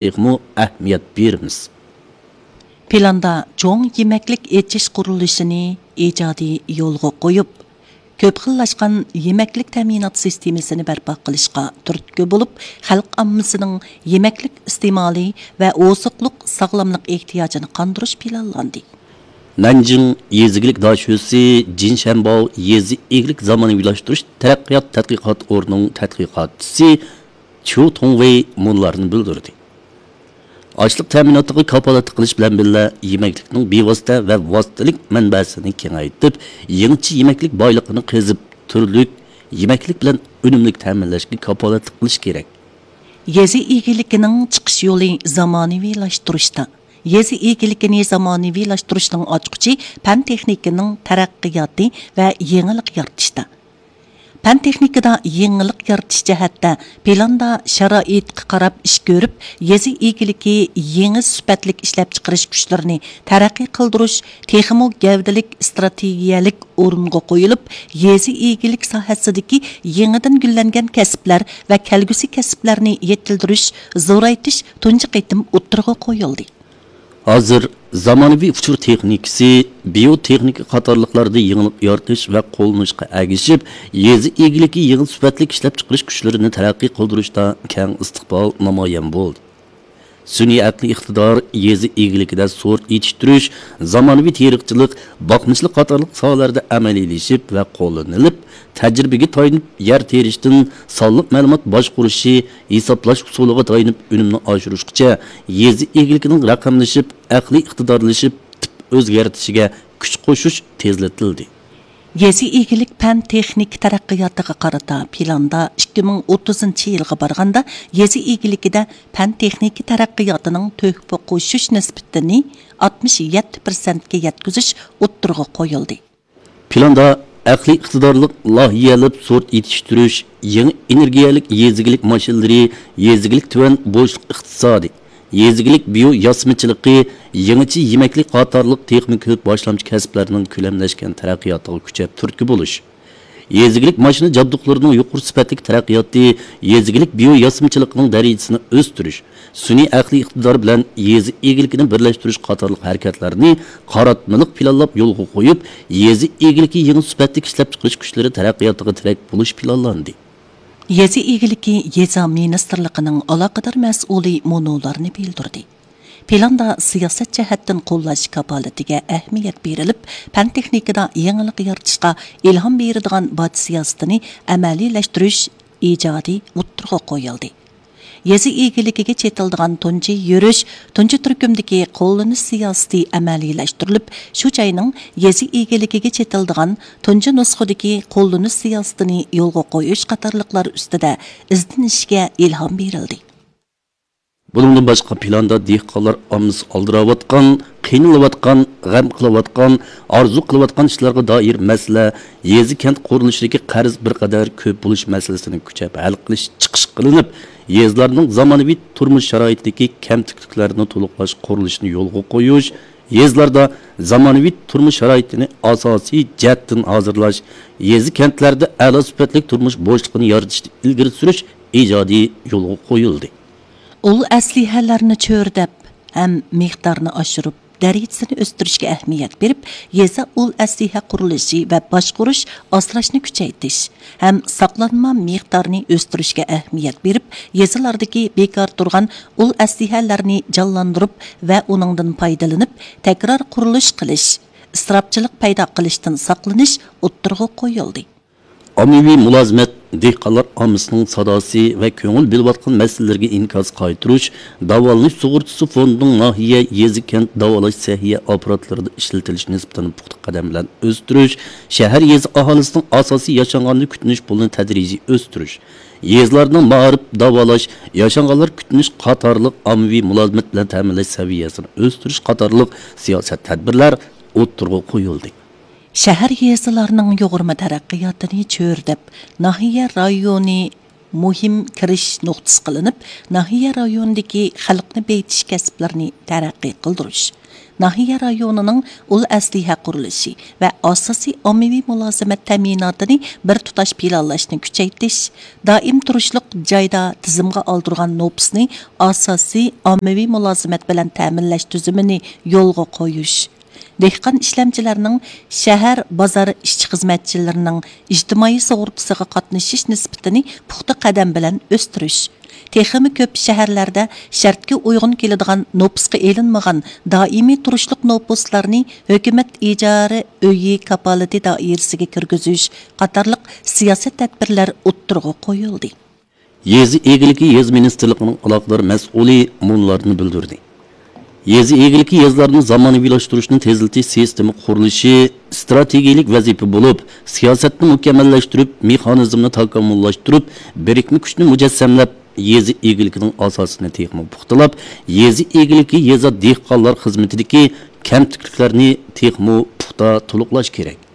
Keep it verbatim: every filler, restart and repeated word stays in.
تېخىمۇ ئەھمىيەت بېرىمىز. پىلاندا چوڭ يېمەكلىك ئېچىش قۇرۇلۇشىنى ئىجادىي يولغا قويۇپ، كۆپ خىللاشقان يېمەكلىك تەمىنات سىستېمىسىنى بەرپا قىلىشقا تۈرتكە بولۇپ، خەلق ئاممىسىنىڭ يېمەكلىك ئىستېمالى ۋە ئوزۇقلۇق ساغلاملىق ئېھتىياجىنى قاندۇرۇش پىلانلاندى. نەنجىڭ يېزا ئىگىلىك داشۆسى جىن شەنباۋ يېزا ئىگىلىك زامانىۋىلاشتۇرۇش تەرەققىيات تەتقىقات ئورنىنىڭ تەتقىقاتچىسى چيۇ تۇڭۋېي مۇنۇلارنى بىلدۈردى. ئاشلىق تەمىناتىغا كاپالەتلىك قىلىش بىلەن بىللە، يېمەكلىكنىڭ بىۋاسىتە ۋە ۋاسىتىلىك مەنبەسىنى كېڭەيتىپ، يېڭىچە يېمەكلىك بايلىقىنى قېزىپ، تۈرلۈك يېمەكلىك بىلەن ئۈنۈملۈك تەمىنلەشكە كاپالەتلىك قىلىش كېرەك. يېزا ئىگىلىكىنىڭ چىقىش يولى زامانىۋىلاشتۇرۇشتا. يېزا ئىگىلىكىنى زامانىۋىلاشتۇرۇشنىڭ ئاچقۇچى پەن تېخنىكىنىڭ تەرەققىياتى ۋە يېڭىلىق يارىتىشتا. پەن تېخنىكىدا يېڭىلىق يارىتىش جەھەتتە پىلاندا شارائىتقا قاراپ ئىش كۆرۈپ، يېزا ئىگىلىكى يېڭى سۈپەتلىك ئىشلەپچىقىرىش كۈچلىرىنى تەرەققىي قىلدۇرۇش تېخىمۇ گەۋدىلىك ئىستراتېگىيەلىك ئورۇنغا قويۇلۇپ، يېزا ئىگىلىك ساھەسىدىكى يېڭىدىن گۈللەنگەن كەسىپلەر ۋە كەلگۈسى كەسىپلەرنى يېتىلدۈرۈش، زورايتىش تۇنجى قېتىم ئوتتۇرىغا قويۇلدى. ھازىر زامانىۋى ئۇچۇر تېخنىكىسى، بىيو تېخنىكا قاتارلىقلاردا يېڭىلىق يارىتىش ۋە قوللىنىشقا ئەگىشىپ، يېزا ئىگىلىكى يېڭى سۈپەتلىك ئىشلەپچىقىرىش كۈچلىرىنى تەرەققىي قىلدۇرۇشتا كەڭ ئىستىقبال نامايان بولدى. سۈنئىي ئەقلىي ئىقتىدار يېزا ئىگىلىكىدە سورت يېتىشتۈرۈش، زامانىۋى تېرىقچىلىق، باقمىچىلىق قاتارلىق ساھەلەردە ئەمەلىيلىشىپ ۋە قوللىنىلىپ، تەجرىبىگە تايىنىپ يەر تېرىشتىن سانلىق مەلۇمات باشقۇرۇشى، ھېسابلاش ئۇسۇلىغا تايىنىپ ئۈنۈمنى ئاشۇرۇشقىچە يېزا ئىگىلىكىنىڭ رەقەملىشىپ، ئەقلىي ئىقتىدارلىشىپ، تىپ ئۆزگەرتىشىگە كۈچ قوشۇش تېزلىتىلدى. يېزا ئىگىلىك پەن تېخنىكا تەرەققىياتىغا قارىتا پىلاندا ئىككى مىڭ ئوتتۇزىنچى يىلغا بارغاندا يېزا ئىگىلىكىدە پەن تېخنىكا تەرەققىياتىنىڭ تۆھپە قوشۇش نىسبىتىنى ئاتمىش يەتتە پىرسەنتكە يەتكۈزۈش ئوتتۇرىغا قويۇلدى. پىلاندا ئەقلىي ئىقتىدارلىق لايىھەلەپ سورت يېتىشتۈرۈش، يېڭى ئېنېرگىيەلىك يېزا ئىگىلىك ماشىنىلىرى، يېزا ئىگىلىك تۆۋەن بوشلۇق ئىقتىسادى، يېزا ئىگىلىك بىيو ياسىمىچىلىقى، يېڭىچە يېمەكلىك قاتارلىق تېخىمۇ كۆپ باشلامچى كەسىپلەرنىڭ كۆلەملەشكەن تەرەققىياتىغا كۈچەپ تۈرتكە بولۇش. يېزا ئىگىلىك ماشىنا جابدۇقلىرىنىڭ يۇقىرى سۈپەتلىك تەرەققىياتى، يېزا ئىگىلىك بىيو ياسىمىچىلىقىنىڭ دەرىجىسىنى ئۆستۈرۈش، سۈنئىي ئەقلىي ئىقتىدار بىلەن يېزا ئىگىلىكىنى بىرلەشتۈرۈش قاتارلىق ھەرىكەتلەرنى قاراتمىلىق پىلانلاپ يولغا قويۇپ، يېزا ئىگىلىكى يېڭى سۈپەتلىك ئىشلەپچىقىرىش كۈچلىرى تەرەققىياتىغا تىرەك بولۇش پىلانلاندى. يېزا ئىگىلىكى يېزا مىنىستىرلىقىنىڭ ئالاقىدار مەسئۇلى مۇنۇلارنى بىلدۈردى. پىلاندا سىياسەت جەھەتتىن قوللاش كاپالىتىگە ئەھمىيەت بېرىلىپ، پەن تېخنىكىدا يېڭىلىق يارىتىشقا ئىلھام بېرىدىغان باج سىياسىتىنى ئەمەلىيلەشتۈرۈش ئىجادىي ئوتتۇرىغا قويۇلدى. يېزا ئىگىلىكىگە چېتىلىدىغان تۇنجى يۈرۈش، تۇنجى تۈركۈمدىكى قوللىنىش سىياسىتى ئەمەلىيلەشتۈرۈلۈپ، شۇ جاينىڭ يېزا ئىگىلىكىگە چېتىلىدىغان تۇنجى نۇسخىدىكى قوللىنىش سىياسىتىنى يولغا قويۇش قاتارلىقلار ئۈستىدە ئىزدىنىشكە ئىلھام بېرىلدى. بۇنىڭدىن باشقا، پىلاندا دېھقانلار ئاممىسى ئالدىراۋاتقان، قىينىلىۋاتقان، غەم قىلىۋاتقان، ئارزۇ قىلىۋاتقان ئىشلارغا دائىر مەسىلە، يېزا كەنت قۇرۇلۇشىدىكى قەرز بىر قەدەر كۆپ بولۇش مەسىلىسىنى كۈچەپ ھەل قىلىش چىقىش قىلىنىپ، يېزىلارنىڭ زامانىۋى تۇرمۇش شارائىتىدىكى كەمتۈكلۈكلەرنى تولۇقلاش قۇرۇلۇشىنى يولغا قويۇش، يېزىلاردا زامانىۋى تۇرمۇش شارائىتىنى ئاساسىي جەھەتتىن ھازىرلاش، يېزا كەنتلەردە ئەلا سۈپەتلىك تۇرمۇش بوشلۇقىنى يارىتىشنى ئىلگىرى سۈرۈش ئىجادىي يولغا قويۇلدى. ئۇل ئەسلىھەلەرنى چۆرىدەپ ھەم مىقدارنى ئاشۇرۇپ، دەرىجىسىنى ئۆستۈرۈشكە ئەھمىيەت بېرىپ، يېزا ئۇل ئەسلىھە قۇرۇلۇشى ۋە باشقۇرۇش، ئاسراشنى كۈچەيتىش ھەم ساقلانما مىقدارنى ئۆستۈرۈشكە ئەھمىيەت بېرىپ، يېزىلاردىكى بىكار تۇرغان ئۇل ئەسلىھەلەرنى جانلاندۇرۇپ ۋە ئۇنىڭدىن پايدىلىنىپ، تەكرار قۇرۇلۇش قىلىش، ئىسراپچىلىق پەيدا قىلىشتىن ساقلىنىش ئوتتۇرىغا قويۇلدى. ئاممىۋى مۇلازىمەت، دېھقانلار ئاممىسىنىڭ ساداسى ۋە كۆڭۈل بۆلۈۋاتقان مەسىلىلىرىگە ئىنكاس قايتۇرۇش، داۋالىنىش سۇغۇرتىسى فوندىنىڭ ناھىيە، يېزا، كەنت داۋالاش سەھىيە ئاپپاراتلىرىدا ئىشلىتىلىش نىسبىتىنى پۇختا قەدەم بىلەن ئۆستۈرۈش، شەھەر، يېزا ئاھالىسىنىڭ ئاساسىي ياشانغاندا كۈتۈنۈش پۇلىنى تەدرىجىي ئۆستۈرۈش، يېزىلارنىڭ مائارىپ، داۋالاش، ياشانغانلار كۈتۈنۈش قاتارلىق ئاممىۋى مۇلازىمەت بىلەن تەمىنلەش سەۋىيەسىنى ئۆستۈرۈش قاتارلىق سىياسەت تەدبىرلەر ئوتتۇرىغا قويۇلدى. شەھەر، يېزىلارنىڭ يۇغۇرما تەرەققىياتىنى چۆرىدەپ، ناھىيە، رايونى مۇھىم كىرىش نۇقتىسى قىلىنىپ، ناھىيە رايونىدىكى خەلقنى بېيىتىش كەسىپلىرىنى تەرەققىي قىلدۇرۇش، ناھىيە رايونىنىڭ ئۇل ئەسلىھە قۇرۇلۇشى ۋە ئاساسىي ئاممىۋى مۇلازىمەت تەمىناتىنى بىر تۇتاش پىلانلاشنى كۈچەيتىش، دائىم تۇرۇشلۇق جايدا تىزىمغا ئالدۇرغان نوپۇسنى ئاساسىي ئاممىۋى مۇلازىمەت بىلەن تەمىنلەش تۈزۈمىنى يولغا قويۇش، دېھقان ئىشلەمچىلەرنىڭ شەھەر، بازار ئىشچى-خىزمەتچىلىرىنىڭ ئىجتىمائىي سۇغۇرتىسىغا قاتنىشىش نىسبىتىنى پۇختا قەدەم بىلەن ئۆستۈرۈش، تېخىمۇ كۆپ شەھەرلەردە شەرتكە ئۇيغۇن كېلىدىغان نوپۇسقا ئېلىنمىغان دائىمىي تۇرۇشلۇق نوپۇسلارنى ھۆكۈمەت ئىجارە ئۆيى كاپالىتى دائىرىسىگە كىرگۈزۈش قاتارلىق سىياسەت تەدبىرلەر ئوتتۇرىغا قويۇلدى. يېزا ئىگىلىكى يېزا مىنىستىرلىقىنىڭ ئالاقىدار مەسئۇلى مۇنۇلارنى بىلدۈردى. يېزا ئىگىلىكى يېزىلارنى زامانىۋىلاشتۇرۇشنى تېزلىتىش سىستېما قۇرۇلۇشى ئىستراتېگىيەلىك ۋەزىپە بولۇپ، سىياسەتنى مۇكەممەللەشتۈرۈپ، مېخانىزمنى تاكامۇللاشتۇرۇپ، بىرىكمە كۈچنى مۇجەسسەملەپ، يېزا ئىگىلىكىنىڭ ئاساسىنى تېخىمۇ پۇختىلاپ، يېزا ئىگىلىكى يېزا دېھقانلار خىزمىتىدىكى كەمتۈكلۈكلەرنى تېخىمۇ پۇختا تولۇقلاش كېرەك.